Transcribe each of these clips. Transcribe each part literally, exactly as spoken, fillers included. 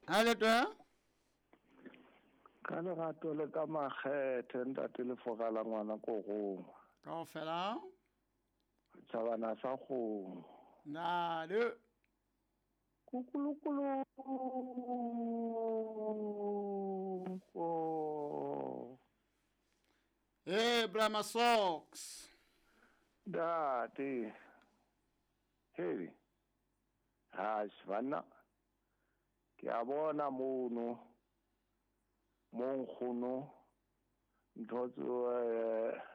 Ha le twa? Ka lerato le ka makgethe ntate le fogala ngwana korong. Kaofela? Tjhabana sa kgomo. Na le kukulukulu. Oh. Hey, Brahma Socks. Ntate. Hey. Ha, banna. Ke a bona mono. Mo nkgono ntho tse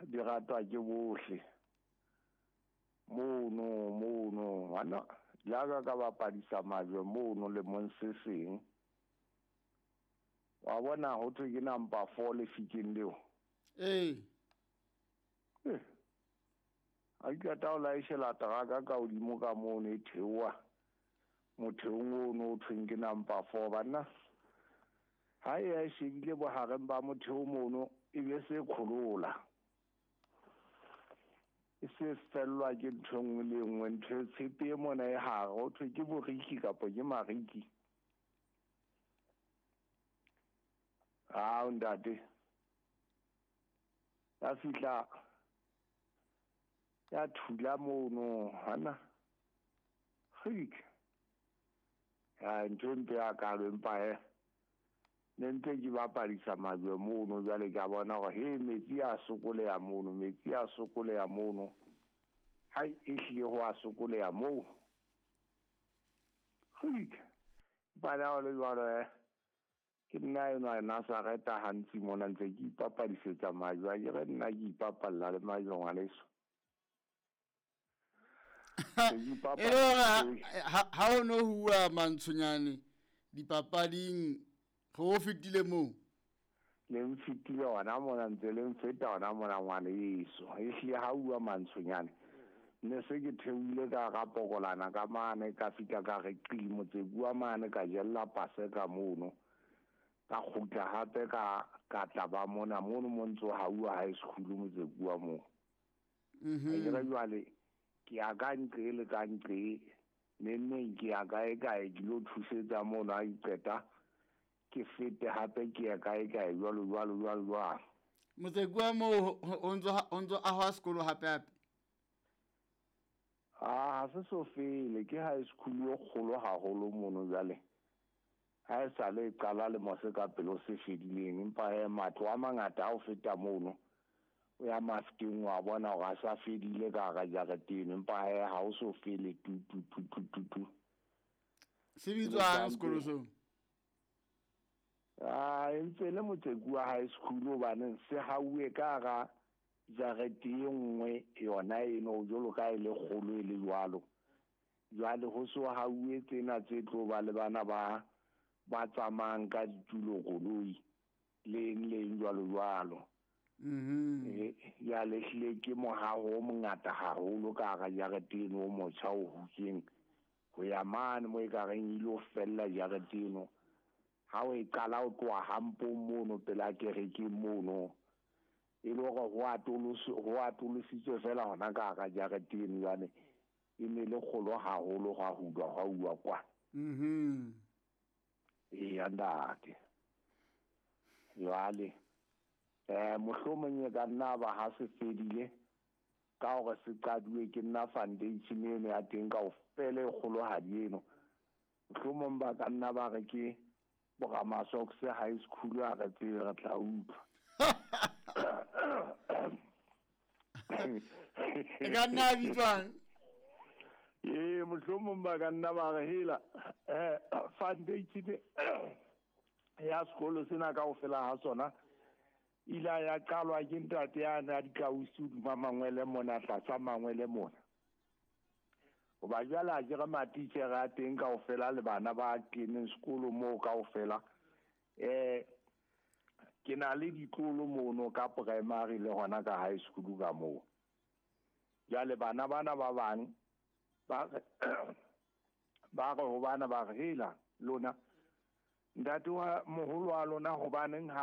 di ratwa ke bohle. Mono mono bana jaaka ka bapadisa majwe mono le mong se seng. Wa bona ho thwe ke number four lefikeng leo. Ee. Eh. A ke ta o laeshela teraka ka hodimo ka mono e theoha. Motheong ono o thweng ke number four banna. Ha e a shebile bohareng ba motheo mono e be se kholola. E se fellwa ke ntho nngwe le nngwe, ntho e tshepe e mona e hare ho thwe ke boriki kapa ke mariki. Ah, ntate. Ya fihla ya thula mono hana. Kgik. Ya ntho mpe ya kalo empa e ne ntse ke bapadisa majwe mono jwale ke a bona hore he metsi a sokoleha mono, metsi a sokoleha mono. Hai e hlile ho a sokoleha moo. Kgik. Bana o le jwalo eh. Ke nna enwa Nazareta hantsi mona ntse ke ipapadisetsa majwe, a ke re nna ke ipapalla le majwe ngwaneso. E le hore ha o no hua mantshonyane dipapading go fetile moo. Le mfetile hona mona ntse le mfeta hona mona ngwaneso. Ehlile ha hua mantshonyane ne se ke theohile ka hara pokolana ka mane ka fihla ka re qi motse bua mane ka jella paseka mono. Ka kgutla hape ka ka tla ba mona mono mo ntso hauwa high school motse bua moo. Mhm. Ke re jwale ke ya ka nqe le ka nqe neng neng ke ya kae kae ke lo thusetsa mono ha ke qeta ke fete hape ke ya kae kae jwalo jwalo jwalo jwalo. Motse bua moo o ntso o ntso ahwa sekolo hape hape. Ah, ha se so fele ke high school e kgolo haholo mono jwale. Ha e sa le qala le mose ka pelo se fedileng empa he matlo a mangata a o feta mono o ya mafikeng wa bona hore a sa fedile ka hara jarete eno empa he ha o so fele tu tu tu tu tu tu. Se bitswang sekolo seo? Ah, e ntse le Motsekua High School hobane se hauwe ka hara jarete e nngwe yona eno jwalo ka e le kgolo e le jwalo. Jwale ho so hauwe tsena tse tlo ba le bana ba ba tsamayang ka ditulo koloi le eng le eng jwalo jwalo. Mhm. Jwale ehlile ke mohaho o mongata haholo ka hara jarete eno o motjha o hutsweng ho ya mane mo ekareng e ilo fella jarete eno. Ha o e qala o tloha hampong mono pela kerekeng mono e le hore ho atoloswe ho atolositswe fela hona ka hara jarete eno jwale e ne le kgolo haholo hwa hulwa hwa uwa kwa. Mhm. Eya ntate. Jwale eh mohlomong e ka nna ba ha se fedile ka hore se qaduwe ke nna foundation eno ya teng kaofela e kgolohadi eno. Mohlomong ba ka nna ba re ke Boramasoks High School a re tsebe re tla utlwa. E ka nna ya bitswang? Ee, mohlomong ba ka nna ba re hela eh foundation ya sekolo sena kaofela ha sona ile ya qalwa ke ntate ya na dikausi hodima mangwele mona tlasa mangwele mona. Hoba jwale ha ke re matitjhere a teng kaofela le bana ba keneng sekolo moo kaofela. Eh ke na le ditlolo mono ka primary le hona ka high school ka moo. Jwale bana bana ba bang ba re ba re ho bana ba re hela lona ntate wa moholo wa lona hobaneng ha